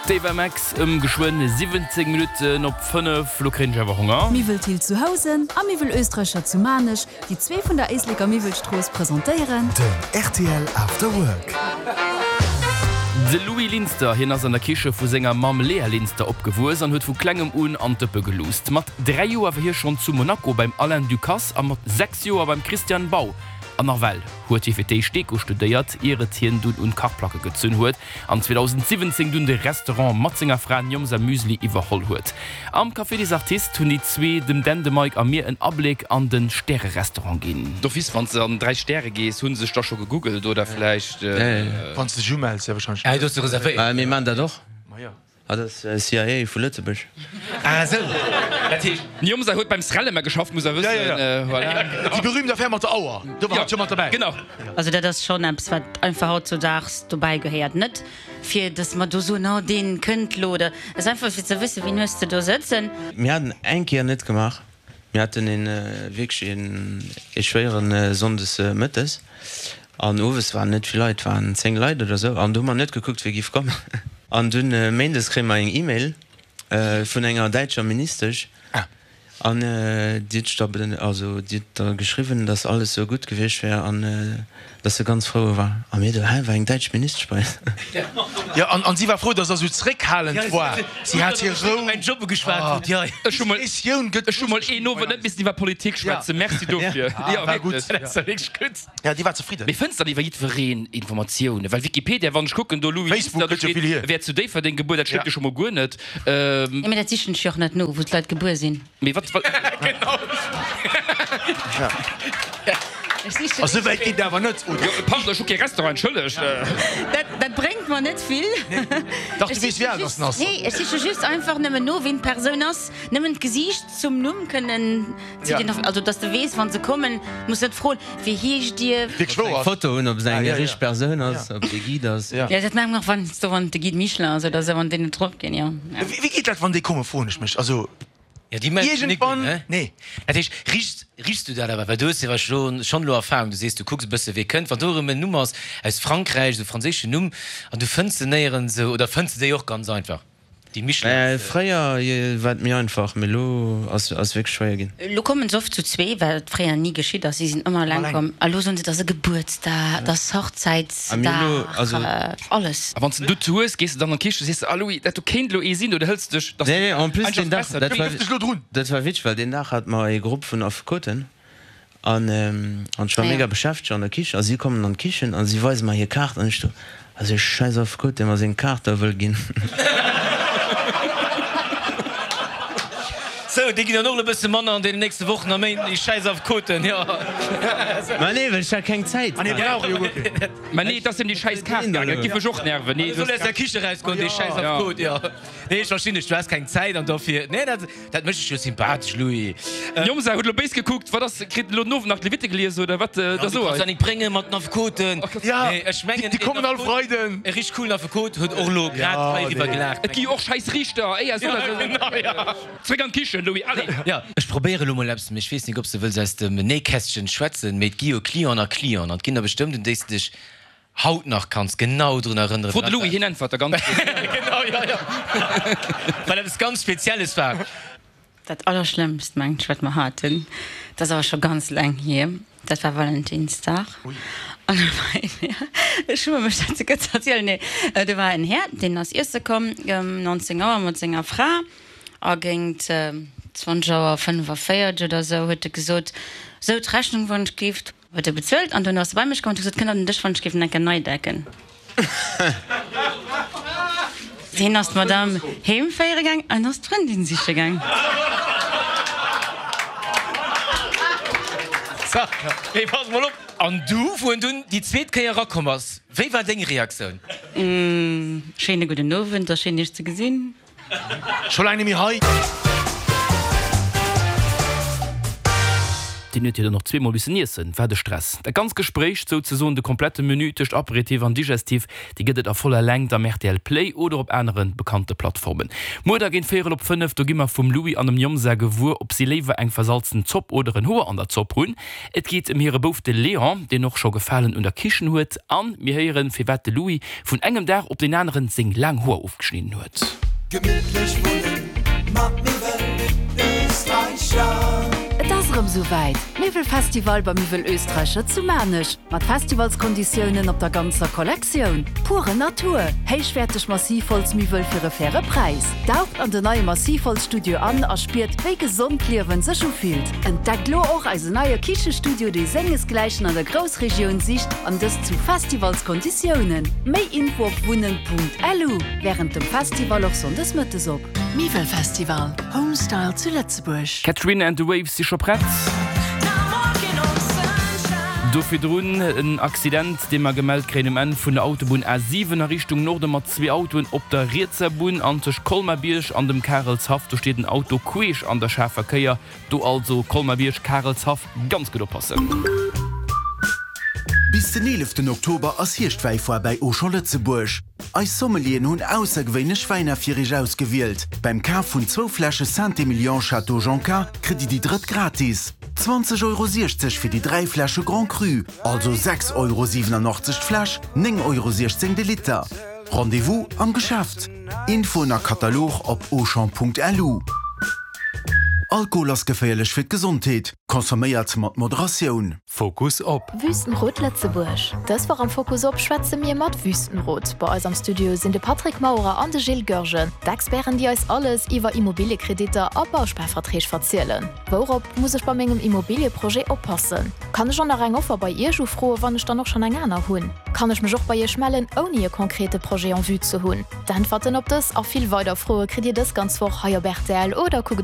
D'Ava Max ëm geschwënn 17 Minutten op 5. Lo kréien ech awer Honger. Miwwel Thill zu Housen a Miwwel Oestreicher zu Maarnech, déi zwee vun der Éisleker Miwwelstrooss, presentéieren. Den rtl After Work. De Louis Linster, hien ass an der Kiche vu senger Mamm Léa Linster opgewuess an huet vu klengem un an d'Dëppe geluusst. Mat 3 Joer war hie schonn zu Monaco beim Alain Ducasse a mat 6 Joer beim Christian Bau. An nawell huet hie fir d'éischt Deko studéiert, ier et hien dunn un d'Kachplacke gezunn huet. An 2017 dunn de Restaurant mat senger Fra Njomza Müsli iwwerholl huet. Am Café des Artistes hunn déi zwee, dem Dan, de Mike a mir, en Abléck an de Stärerestaurant ginn. D'office, wann s de an 3 Stäre gees, hu se sech da scho gegoogelt oder vläicht. Wann s de dech umells, jo wahrscheinlech. Ah, do hues de reservéiert. Mir maan dat och. Ah, dat ass CIA vu Lëtzebuerg. Ah esou, dat heescht. Njomza huet beim Srelema geschafft, muss der wëssen. Voilà. Déi berühmt Affär mat der Auer, do war hatt jo mat derbäi. Genau. Also dat ass schonn eppes, wat einfach hautzudaags dobäi gehéiert. Net fir datt mer do soen, oh dee kënnt lo oder, et ass einfach fir ze wëssen, wien hues de do sëtzen. Mir haten eng Kéier net gemaach. Mir haten een wierklech een ee schwéieren Sonndes mëttes an owes waren net vill Leit, waren 10 Leit oder sou an do hu mer net gekuckt wie giff kommen. An dunn Méindes kréie mer eng Email vun enger däitscher Ministesch an déi huet da also déi huet da geschriwwen, dass alles sou gutt gewiescht wär an dass se ganz frou war. A mir do, hä, war eng däitsch Ministesch bei eis? Jo, an si war frou, dass der sou zréckhalend war. Si hat hir Rou. Mäin Job ugeschwat hutt, jo. Ech hu mol, ech hu mol een Owend net missen iwwer Politik schwätzen. Merci dofir. Jo, war gutt. Dat ass wierklech gutt. Ja, déi war zefridden. Mee fënns dann iwwer jiddwereen Informatiounen? Well Wikipedia, wann ech kucken, do Louis Facebook Linster, do gëtt jo steet, vill hier. e wär zu Déifferdeng gebuer, dat stëmmt jo scho mol guer net. Jo, mee dat sichen ech jo och net no, wou d'Leit gebuer sinn. Mee wat, wat. Genau. Ech sichen. Esou wäit geet et awer net, oder? Jo, pardon, ech hu kee Restaurant, entschëllegt. Dat, dat bréngt mer net vill. Dach, du weess, wéi al dass en ass. Nee, ech siche just einfach nëmmen no, wien d'Persoun ass. Nëmmen d'Gesiicht zum Numm kënnen ze identif-, also dass de weess, wa se kommen, muss net froen, Wéi heescht Dir? Wierklech wouer Eng ass. Foto hunn, ob se eng richteg Persoun ass, ob de Guide ass. Jo, dat maache mer och, wann s du, wann de Guide Michelin ass oder esou, wann déi net drop ginn, jo. Wéi geet dat, wann déi kommen, froen ech mech. Also. Jo, déi melden sech nik un, Iergendwann, ne? nee. Dat heescht, richs, richs du dat awer? Well du hues jo wahrscheinlech schonn elo Erfahrung, du sees, du kucks e bësse wee kënnt. Wann do erëm en Numm ass aus Frankräich, esou e franséischen Numm, an du fënns se néierens esou, oder fënns de déi och ganz einfach, déi Michelins? Fréier war et méi einfach, mee elo ass wierklech schwéier ginn. Elo kommen se oft zu zwee, wat fréier ni geschitt ass. Si sinn ëmmer eleng komm. A lo soen se, et ass e Gebuertsdag, et ass Hochzäitsdag, alles. A wann s de du hues, gees de dann an d'Kiche, sees de, ah Louis, dat do kéint elo ee sinn, oder hëls de dech, dass Nee, nee, en plus einfach deen Dag, besser dat du war, dech elo drun. dat war witzeg, well deen Dag hate mer ee Grupp vun Affekoten an an ech war mega beschäftegt an der Kichen a si kommen an d'Kichen a si weise mer hir Kaart an ech do, also ee schäiss Affekot, dee mer seng Kaart da wëll ginn. Sou, déi ginn dann och elo e bësse manner an deenen nächste Wochen a Méinten, déi schäiss Affekoten, jo. Ma nee, well ech hat keng Zäit. Ah nee, brauch jo guer keen. Mä nee, et ass ëm déi schäiss Kaart gaangen, dat giff mech och nerven. Nee, Du soll aus der Kiche rausgoen, dee schäiss Affekot, jo. Nee, ech verstinn dech, du has keng Zäit an dofir, nee, dat, dat mécht dech jo sympathesch, Louis. Jomsa huet elo béis gekuckt, wat ass, kritt en elo den Owend nach d'Levitte gelies oder wat? Ja, Da du so kanns ei. dat nik bréngen mat den Affekoten. Ja, Nee, ech mengen, déi kommen all Freiden. E richteg coolen Affekot huet och elo grad Ja, heiriwwer nee. gelaacht. Et gi jo och schäiss Riichter, éier so dat. Genau, ja. Zréck an d'Kichen, Louis, allez! Ja, ech probéiere lo mol eppes, mee ech weess nik, ob s de wëlls aus dem Nähkästchen schwätzen, mee et gi jo Clienten a Clienten an et ginn der bestëmmt, un déi s de dech haut nach kanns genau drun erënneren. Fro de Louis, hien äntwert der ganz gutt. Genau, jo, jo. Well eppes ganz Spezielles war. Dat allerschlëmmst mengt ech wat mer haten, dat ass awer scho ganz laang hier, dat war Valentinsdag an do war een Här, ech schumme mech dat souguer ze erzielen, nee do war en Här deen ass iesse komm ëm 19 Auer mat senger Fra a géint 20 Auer 45 oder sou huet e gesot, sou d'Rechnung wann ech gift. Huet e bezuelt an duerno ass e bei mech komm an huet gesot, kënnt der den Dësch wann ech giff en enke nei decken. Hien ass d'Madame heem féiere gaang an ass d'Frëndin siche gaang. So, mee pass mol op, an du, wou en dunn déi zweet Kéier erakomm ass, wéi war deng Reaktioun? Schéine gudden Owend a schéin iech ze gesinn. Scho laang nemmi hei. Deen huet jo dann och zweemol missen iessen. Wat e Stress. Dat ganz Gespréich, souzesoen de komplette Menü tëscht Aperitif an Digestif, déi gëtt et a voller Längt am rtl Play oder op anere bekannte Plattformen. Muer da géint véierel op 5, do gi mer vum Louis an dem Njomsa gewuer, ob si léiwer eng versalzen Zopp oder en Hoer an der Zopp hunn. Et geet ëm hire Bouf de Léon, deen och scho Gefalen un der Kichen huet. An mir héieren, firwat de Louis vun engem Dag op deen aneren seng laang Hoer ofgeschnidden huet. Gemittlech wunnen mat Miwwel Österreicher. Et ass erëm sou wäit, Miwwelfestival bei Miwwel Österreicher zu Maarnech, mat Festivalskonditiounen op der ganzer Kollektioun. Pure Natur, héichwäerteg Massivholzmiwwel fir e faire Präis. Daucht an den neie Massivholzstudio an a spiert, wéi gesond d'Liewen sech ufillt. Entdeckt lo och eisen neie Kichestudio, dee sengesgläichen an der Groussregioun sicht, an dëst zu Festivalskonditiounen. Méi Info op wunnen.lu. Wärend dem Festival och Sonndes mëttes op. Miwwelfestival, Homestyle zu Lëtzebuerg. Katrina and the Waves si scho prett. Do virdrun en Accident, dee mer gemellt kréien um Enn vun der Autobunn A7 a Richtung Norde mat zwee Autoen op der rietser Bunn an tëscht Colmar-Bierg an dem Karelshaff. Do steet en Auto queesch an der schaarfer Kéier. Do also Colmar-Bierg, Karelshaff, ganz gutt oppassen. Bis den 11 Oktober ass Hierschtwäifoire bäi Auchan Lëtzebuerg. Eis Sommelieren hunn aussergewéinlech Wäiner fir iech ausgewielt. Beim Kaf vun zwou Fläsche Saint-Emilion Château Jonca kritt dir déi drëtt gratis. 20,60 Euro fir déi 3 Fläsche Grand Cru, also 6,87 Euro d'Fläsch, 9,16 Euro de Liter. Rendez-vous am Geschäft! Infoen a Katalog op auchan.lu. Alkohol ass geféierlech fir d'Gesondheet, consomméiert mat Moderatioun. Fokus op. Wüstenrot Lëtzebuerg. Dës Woch am Fokus op schwätze mir mat Wüstenrot. Bei eis am Studio sinn de Patrick Maurer an de Gilles Goergen, d'Experten déi eis alles iwwer Immobiliekreditter a Bausparverträg verzielen. Wourop muss ech bei mengem Immobilieprojet oppassen? Kann ech och nach eng Offer bei Iech ufroe wann ech dann och schonn eng aner hunn? Kann ech mech och bei Iech mellen ouni e konkrete Projet en vue ze hunn? D'Äntwerten op dës a vill weider Froe kritt Dir dës ganz Woch hei op rtl oder kuckt.